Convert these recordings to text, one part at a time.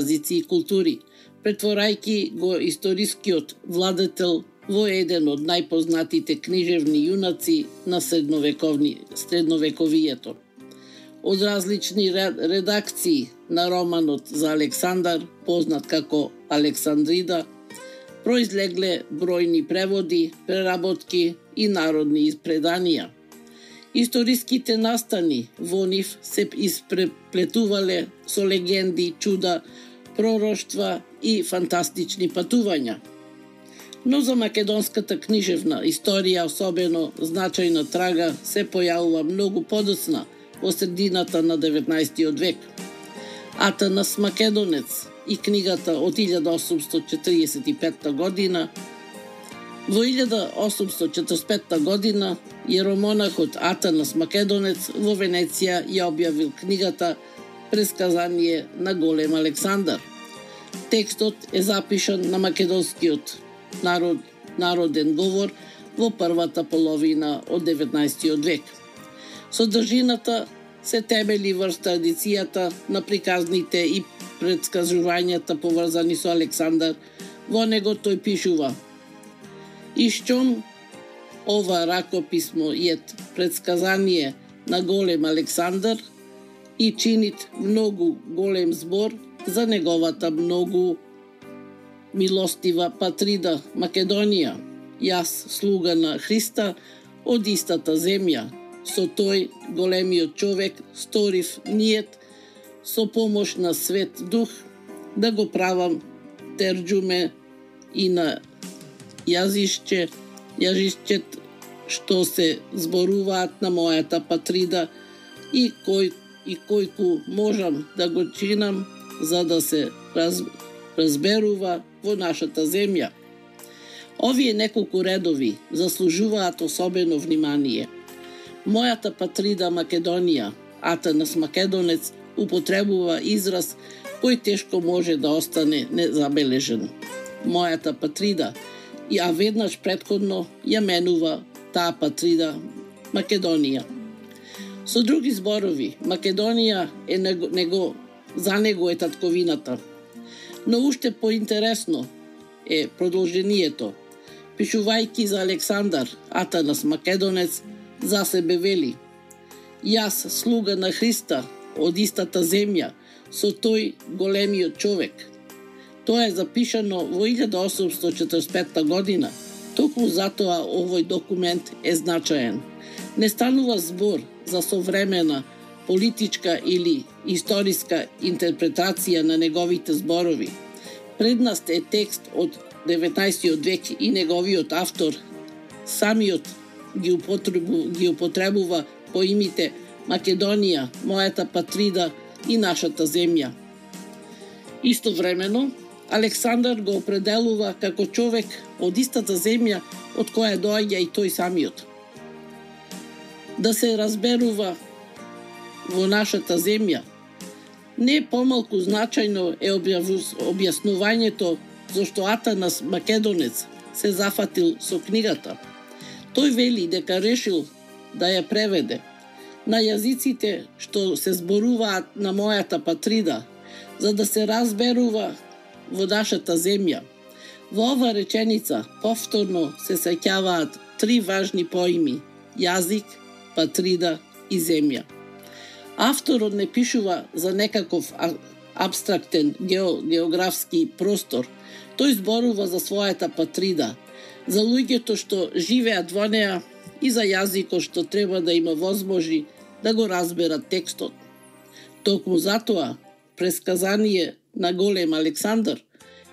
јазици и култури, претворајќи го историскиот владетел во еден од најпознатите книжевни јунаци на средновековието. Од различни редакции на романот за Александар, познат како Александрида, произлегле бројни преводи, преработки и народни преданија. Историските настани во нив се испреплетувале со легенди, чуда, пророштва и фантастични патувања. Но за македонската книжевна историја особено значајна трага се појавува многу подоцна во средината на 19 век. Атанас Македонец и книгата од 1845 година. Во 1845 година јеромонахот Атанас Македонец во Венеција ја објавил книгата Пресказание на голем Александар. Текстот е запишан на македонскиот народен говор во првата половина од 19 век. Содржината се темели врз традицијата на приказните и предскажувањата поврзани со Александар. Во него тој пишува: Ишчом ова ракописмо ет предсказание на голем Александар и чинит многу голем збор за неговата многу милостива патрида Македонија. Јас, слуга на Христа, од истата земја, со тој големиот човек сторив ниет со помош на Свет Дух да го правам терџуме и на јазиччет што се зборуваат на мојата патрида и којку можам да го чинам за да се разберува во нашата земја. Овие неколку редови заслужуваат особено внимание. Мојата патрида Македонија, Атанас Македонец, употребува израз кој тешко може да остане незабележен. Мојата патрида, а веднаш претходно ја менува таа патрида Македонија. Со други зборови, Македонија е за него е татковината. Но уште поинтересно е продолжението. Пишувајќи за Александар, Атанас Македонец за себе вели: Јас, слуга на Христа, од истата земја, со тој големиот човек. Тоа е запишано во 1845 година. Токму затоа овој документ е значаен. Не станува збор за современа политичка или историска интерпретација на неговите зборови. Пред нас е текст од 19 век и неговиот автор самиот ги употребува поимите Македонија, мојата патрида и нашата земја. Истовремено, Александар го определува како човек од истата земја од која доаѓа и тој самиот. Да се разберува во нашата земја. Не помалку значајно е објаснувањето зашто Атанас Македонец се зафатил со книгата. Тој вели дека решил да ја преведе на јазиците што се зборуваат на мојата патрида, за да се разберува во нашата земја. Во ова реченица повторно се сеќаваат три важни поими: јазик, патрида и земја. Авторот не пишува за некаков абстрактен географски простор. Тој зборува за својата патрида, за луѓето што живеат во неа и за јазикот што треба да има возможи да го разберат текстот. Токму затоа, Пресказание на голем Александар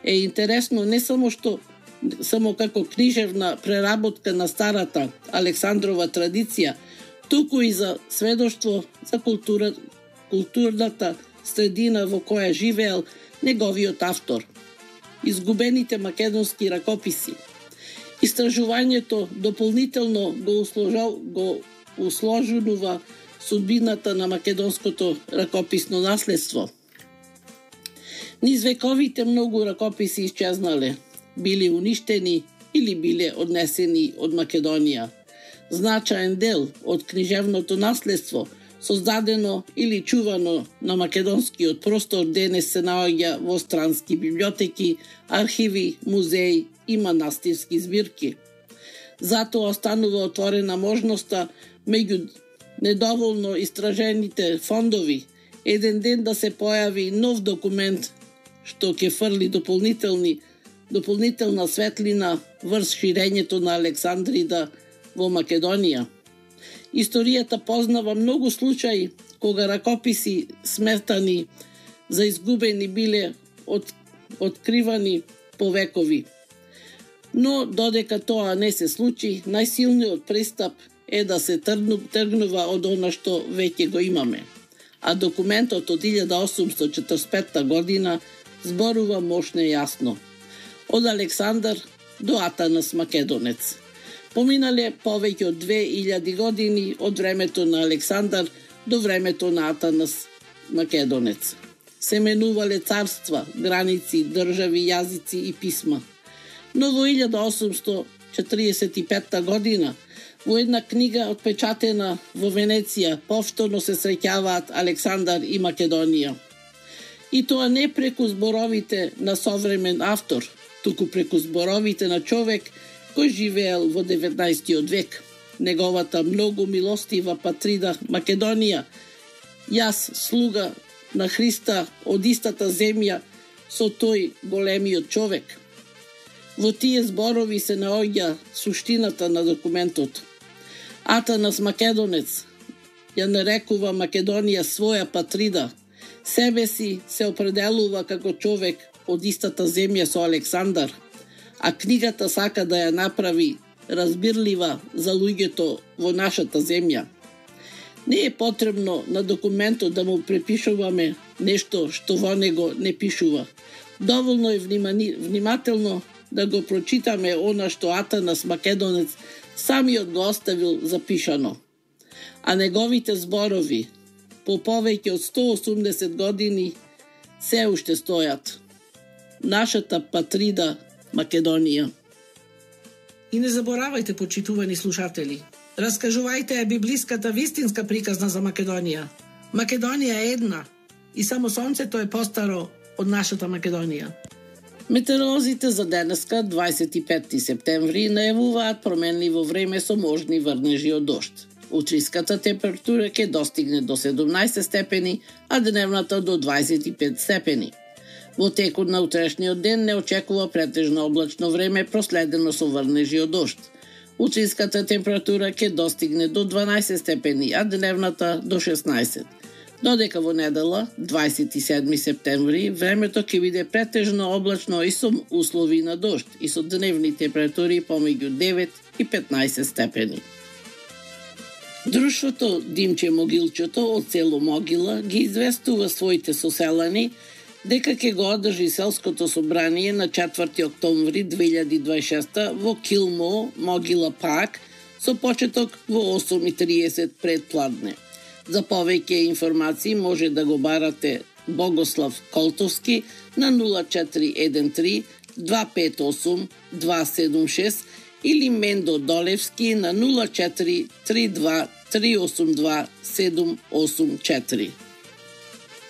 е интересно не само како книжевна преработка на старата Александрова традиција, туку и за сведоштво за културната средина во која живеел неговиот автор. Изгубените македонски ракописи. Истражувањето дополнително го усложнува судбината на македонското ракописно наследство. Низ вековите многу ракописи исчезнале, били уништени или биле однесени од Македонија. Значаен дел од книжевното наследство создадено или чувано на македонскиот простор, денес се наоѓа во странски библиотеки, архиви, музеи и манастирски збирки. Затоа останува отворена можноста меѓу недоволно истражените фондови еден ден да се појави нов документ што ќе фрли дополнителна светлина врз ширењето на Александрида во Македонија. Историјата познава многу случаи кога ракописи сметани за изгубени биле откривани по векови. Но додека тоа не се случи, најсилниот пристап е да се тргнува од она што веќе го имаме. А документот од 1845 година зборува мощно и јасно. Од Александар до Атанас Македонец. Поминале повеќе од 2000 години од времето на Александар до времето на Атанас Македонец. Се менувале царства, граници, држави, јазици и писма. Но во 1845 година во една книга отпечатена во Венеција повторно се среќаваат Александар и Македонија. И тоа не преку зборовите на современ автор, туку преку зборовите на човек кој живеел во 19 век. Неговата многу милостива патрида Македонија, јас слуга на Христа од истата земја со тој големиот човек. Во тие зборови се наоѓа суштината на документот. Атанас Македонец ја нарекува Македонија своја патрида. Себе си се определува како човек од истата земја со Александар, а книгата сака да ја направи разбирлива за луѓето во нашата земја. Не е потребно на документот да му препишуваме нешто што во него не пишува. Доволно е внимателно да го прочитаме она што Атанас Македонец самиот го оставил запишано. А неговите зборови по повеќе од 180 години се уште стојат. Нашата патрида Македонија. И не заборавајте, почитувани слушатели, раскажувајте ја библиската вистинска приказна за Македонија. Македонија е една и само сонцето е постаро од нашата Македонија. Метеоролозите за денеска, 25 септември, најавуваат променливо време со можни врнежи од дожд. Утриската температура ќе достигне до 17 степени, а дневната до 25 степени. Во текот на утрешниот ден не очекува претежно облачно време проследено со врнежи од дожд. Утринската температура ќе достигне до 12 степени, а дневната до 16. Додека во недела, 27 септември, времето ќе биде претежно облачно и со услови на дожд и со дневни температури помеѓу 9 и 15 степени. Друштвото Димче Могилчето од село Могила ги известува своите соселани дека ќе го одржи селското собрание на 4 октомври 2026 во Килмо, Могила Парк, со почеток во 8:30 пред пладне. За повеќе информации може да го барате Богослав Колтовски на 0413 258 276 или Мендо Долевски на 0432 382 784.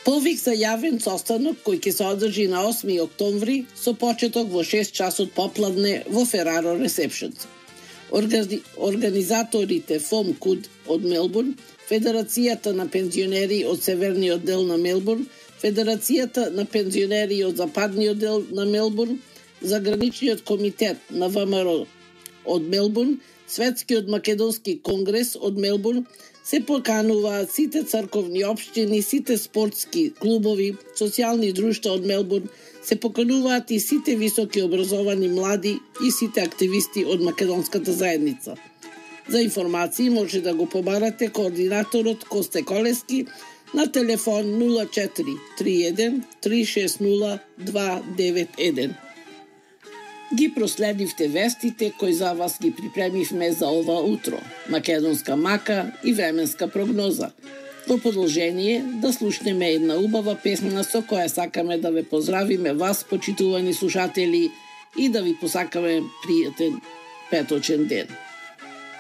Повик за јавен состанок кој ќе се одржи на 8 октомври со почеток во 6 часот попладне во Фераро Ресепшенс. Организаторите ФОМ КУД од Мелбурн, Федерацијата на пензионери од Северниот дел на Мелбурн, Федерацијата на пензионери од Западниот дел на Мелбурн, Заграничниот комитет на ВМРО од Мелбурн, Светскиот македонски конгрес од Мелбурн, се покануваат сите црковни општини, сите спортски клубови, социјални друштва од Мелбурн, се покануваат и сите високи образовани млади и сите активисти од македонската заедница. За информации може да го побарате координаторот Косте Колески на телефон 0431 360 291. Ги проследивте вестите кои за вас ги припремивме за ова утро, македонска мака и временска прогноза. Во продолжение да слушнеме една убава песна со која сакаме да ве поздравиме вас, почитувани слушатели, и да ви посакаме пријатен петочен ден.